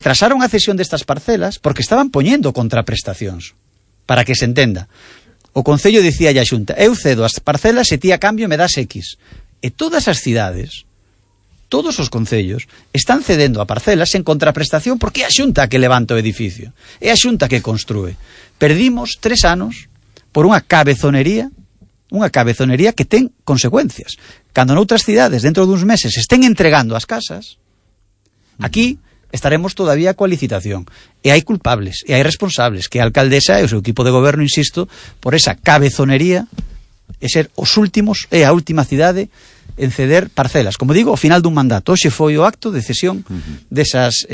Trasaron a cesión destas parcelas porque estaban poñendo contraprestacións. Para que se entenda. O Concello dicía a Xunta, eu cedo as parcelas e ti a cambio me das X. E todas as cidades, todos os concellos, están cedendo a parcelas en contraprestación porque é a Xunta que levanta o edificio. É a Xunta que construe. Perdimos 3 anos por unha cabezonería que ten consecuencias. Cando noutras cidades, dentro duns meses, estén entregando as casas, aquí estaremos todavía coa licitación. E hai culpables, e hai responsables, que a alcaldesa e o seu equipo de goberno, insisto, por esa cabezonería e ser os últimos, e a última cidade en ceder parcelas. Como digo, ao final dun mandato. Hoxe foi o acto de cesión desas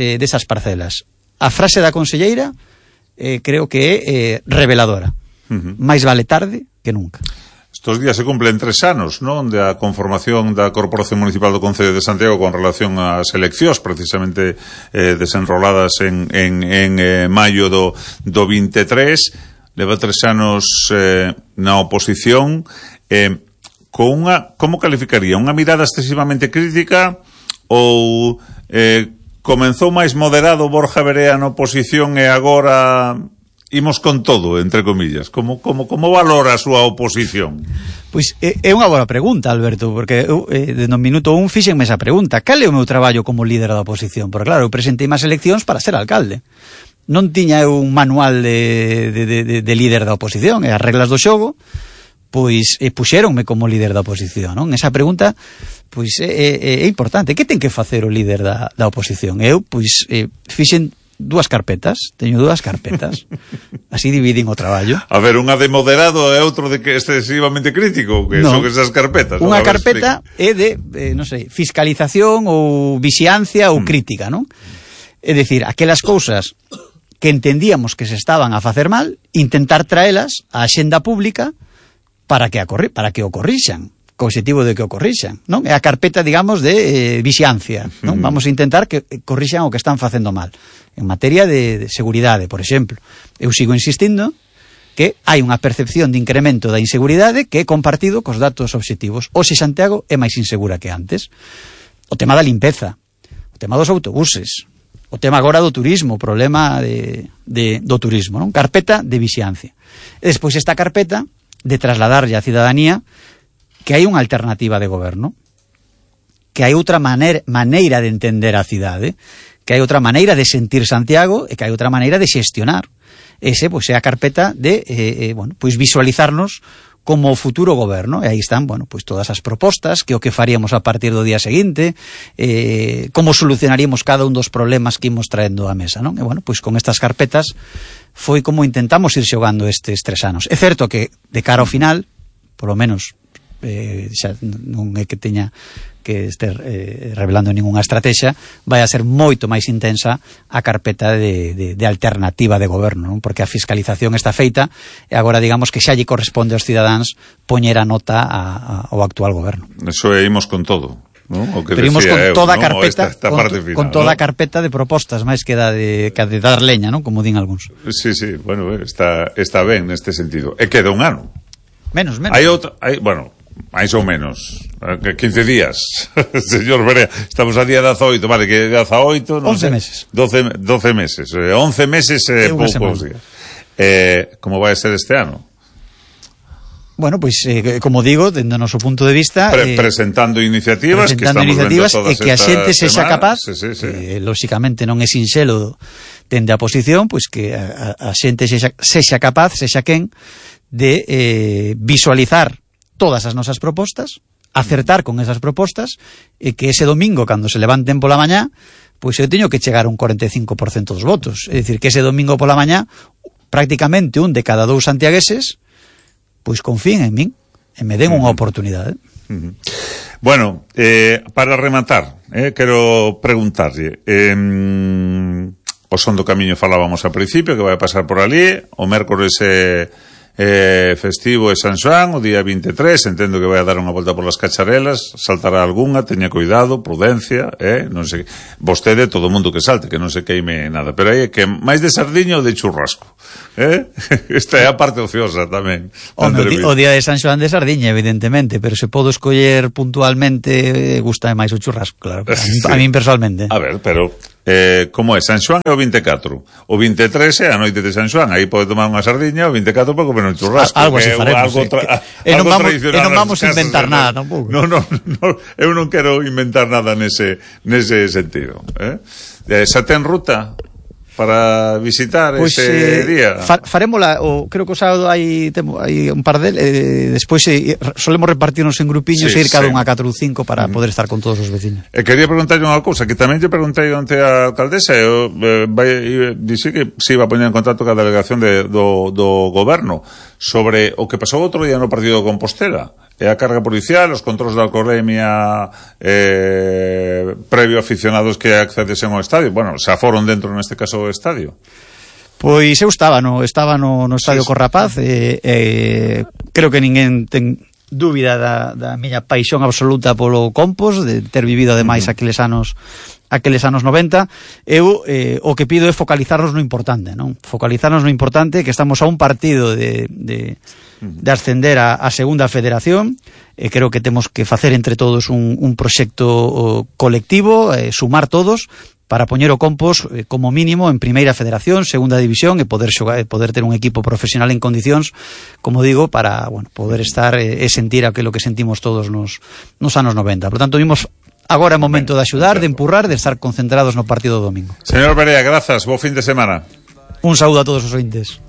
parcelas. A frase da conselleira creo que é reveladora. Mais vale tarde que nunca. Estos días se cumplen 3 anos, non, da conformación da Corporación Municipal do Concello de Santiago con relación ás eleccións, precisamente desenroladas en maio do 23. Leva 3 anos na oposición. Como calificaría? Unha mirada excesivamente crítica ou comenzou máis moderado Borja Verea na oposición e agora imos con todo, entre comillas? Como valora a súa oposición? Pois é unha boa pregunta, Alberto, porque eu, no minuto 1 fíxenme esa pregunta. Cal é o meu traballo como líder da oposición? Porque claro, eu presentei máis eleccións para ser alcalde. Non tiña eu un manual de líder da oposición, e as reglas do xogo pois puxéronme como líder da oposición, non? Esa pregunta pois é importante. Que ten que facer o líder da oposición? Eu pois fixen 2 carpetas, teño 2 carpetas. Así dividín o traballo. A ver, unha de moderado e outro de que excesivamente crítico, que son esas carpetas. Unha carpeta é de, non sei, fiscalización ou vixiancia ou crítica, non? É dicir, aquelas cousas que entendíamos que se estaban a facer mal, intentar traelas á axenda pública para que o corrixan, co objetivo de que o corrixan, non? É a carpeta, digamos, de vixiancia, non? Vamos a intentar que corrixan o que están facendo mal. En materia de seguridade, por exemplo. Eu sigo insistindo que hai unha percepción de incremento da inseguridade que é compartido cos datos obxectivos. Hoxe Santiago é máis insegura que antes. O tema da limpeza, o tema dos autobuses, o tema agora do turismo, o problema do turismo, non? Carpeta de vixiancia. E despois esta carpeta de trasladarlle á cidadanía que hai unha alternativa de goberno, que hai outra maneira de entender a cidade, que hai outra maneira de sentir Santiago e que hai outra maneira de xestionar. Ese, pois, é a carpeta de, pois, visualizarnos como o futuro goberno. E aí están, pois, todas as propostas, que o que faríamos a partir do día seguinte, como solucionaríamos cada un dos problemas que imos traendo á mesa, non? E, pois, con estas carpetas foi como intentamos ir xogando estes 3 anos. É certo que, de cara ao final, polo menos, xa non é que teña que ester revelando ningunha estrategia, vai a ser moito máis intensa a carpeta de alternativa de goberno, non? Porque a fiscalización está feita e agora digamos que xa lle corresponde aos cidadáns poñer a nota ao actual goberno. Eso é imos con todo, non? O que pero imos con toda a carpeta, esta final, con toda a carpeta de propostas, máis que de dar leña, non? Como din algúns. Sí, está ben neste sentido. E queda un ano. Menos. Máis ou menos 15 días. Señor Verea, estamos a día 18, vale, que 18 non 11 sé, meses 12 meses, 11 meses poucos días. Como vai ser este ano? Pois, como digo, dende o noso punto de vista presentando iniciativas que estamos vendo todas e que a xente sexa capaz sí. lóxicamente non é sinxelo dende a posición, pois que a xente sexa capaz, sexa quen de visualizar todas as nosas propostas, acertar con esas propostas e que ese domingo, cando se levanten pola mañá, pois eu teño que chegar a un 45% dos votos. É dicir, que ese domingo pola mañá prácticamente 1 de cada 2 santiagueses pois confíen en min e me den unha oportunidade. Bueno, para rematar, quero preguntarlle, o Son do Camiño falábamos ao principio, que vai pasar por ali, o mércores festivo e San Xoán, o día 23, entendo que vai a dar unha volta polas cacharelas, saltará algunha, teña cuidado, prudencia, non sei, vostede, todo o mundo que salte, que non se queime nada, pero aí é que máis de sardiña ou de churrasco, esta é a parte ociosa tamén. O día de San Xoán de sardiña, evidentemente, pero se podo escoller puntualmente, gusta máis o churrasco, claro, a min personalmente. A ver, pero como é? San Xoán é o 24. O 23 é a noite de San Xoán. Aí pode tomar unha sardiña, o 24 pode comer un churrasco. Algo así faremos. Non vamos a inventar nada tampouco. No, eu non quero inventar nada nese sentido. Xa ten ruta para visitar pues, ese día? Farémola, creo que o sábado hai un par despois solemos repartirnos en grupiños e ir cada un a 4 ou 5 para poder estar con todos os vecinos. Quería preguntarlle unha cousa, que tamén lle preguntei onte a alcaldesa, dixe que se iba a poñer en contacto ca delegación do goberno sobre o que pasou outro día no partido de Compostela, e a carga policial, os controles de alcoholemia previo a aficionados que accedesen ao estadio. Bueno, xa foron dentro neste caso do estadio. Pois eu estaba no estadio Corrapaz, creo que ninguén ten dúbida da miña paixón absoluta polo Compos, de ter vivido ademais aqueles anos 90. Eu o que pido é focalizarnos no importante, non? Focalizarnos no importante, que estamos a un partido de ascender a segunda federación. Creo que temos que facer entre todos un proxecto colectivo, sumar todos para poñer o Compos como mínimo en primeira federación, segunda división, e poder poder ter un equipo profesional en condicións, como digo, para, bueno, poder estar e sentir aquilo que sentimos todos nos anos 90. Por tanto, vimos agora é momento de axudar, de empurrar, de estar concentrados no partido do domingo. Señor Berea, grazas, bo fin de semana. Un saúdo a todos os ointes.